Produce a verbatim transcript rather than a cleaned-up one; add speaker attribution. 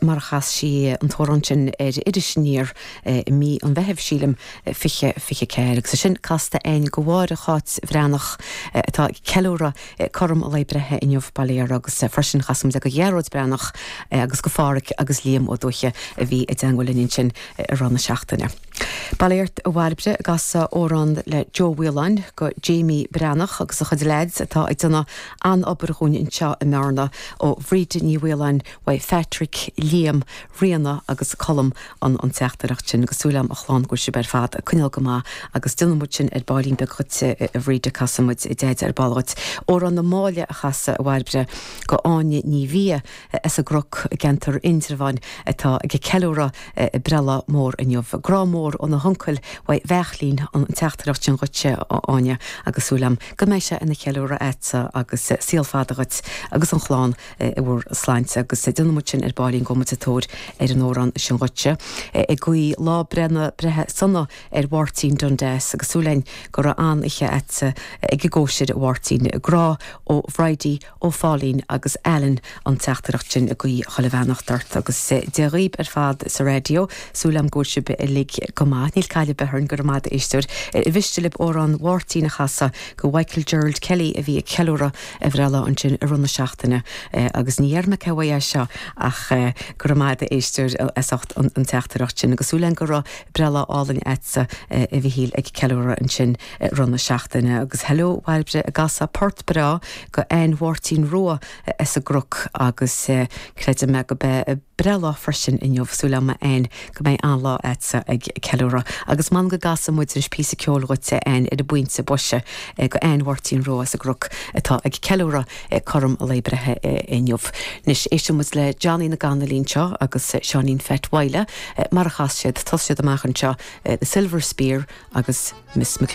Speaker 1: mar a chas sí an t-amhrán sin ar Iris Aniar i mí an Mheithimh sílim fiche fiche ceathair agus sin casta againn do Mháire Cháit Bhreathnach atá ag ceiliúradh cothrom a lae breithe inniu bail ó Dhia uirthi agus freisin chas muid go Ghearóid Breathnach agus go Phádraic agus Liam Ó Dúiche a bhí i dteagmháil linn sin i rith na seachtaine. Baléirt a bhailbre gas órán le Joe Whelan go Jamie Breathnach agus a chuid lads atá ag déanamh an-obair dhúinn anseo i mBearna ó Bhríd Ní Whelan uaidh Patrick Liam Ríona agus Colm an an teachtaireacht sin agus súil agam a chlann go bhfuil sibh ar fad ag coinneáil go maith agus déanfaidh muid sin ar baillín beag dhuit a Bhríd casfaidh muid deaid ar ball dhuit. Amhrán na Máille a chasadh a Bhairbre go Áine Ní Bhia as an gCnoc i gceantar Indreabháin atá ag ceiliúradh breithlá mór inniu. Grá mór óna huncail uaidh Bheachlín an teachtaireacht sin dhuitse Áine agus súil agam go mbeidh sé ina cheiliúradh agatsa agus saol fada dhuit agus an chlann i bhur sláinte agus déanfaidh muid sin ar baillín go muid tóir ar an amhrán sin dhuitse. Ag guí lá breithe breithe sona ar Mháirtín Dundas agus súil againn go raibh an-oíche agatsa ag an gcóisir Mháirtín grá ó Bhridie ó Pháilín agus Alan an teachtaireacht sin ag guí chuile bheannacht ort agus Dia dhaoibh ar fad sa raidió súil agam go bhfuil sibh uilig go maith níl caill beharn gur amad éisteir i bhiste lib amhrán Mháirtín a chasadh go Michael Gerald Kelly a bhí ag ceiliúradh a bhreithlá ansin i rith na seachtaine agus ní ar me ce seo ach gur amad éisteir as ucht an teachtaireacht sin agus súil agam go raibh breithlá álainn agatsa a Mhichíl ag ceiliúradh ansin rith na seachtaine agus hello Bhairbre ag casadh port breá go Ann Mháirtín Rua as an gCnoc agus creidim mé go mbeidh breithlá freisin inniu súil agam Ann go mbeidh an-lá agatsa ag ceiliúradh agus man go gcasfaidh muid leis píosa ceoil dhuit Ann ar an bpointe boise go Ann Mháirtín Rua as an gCnoc atá ag ceiliúradh cothrom a lae breithe inniu. Anois éistfidh muid le Johnny na gCannailí seo agus Seáinín Pheait Mhaidhle mar a chas siad tos siad amach anseo the Silver Spear agus Miss McClure.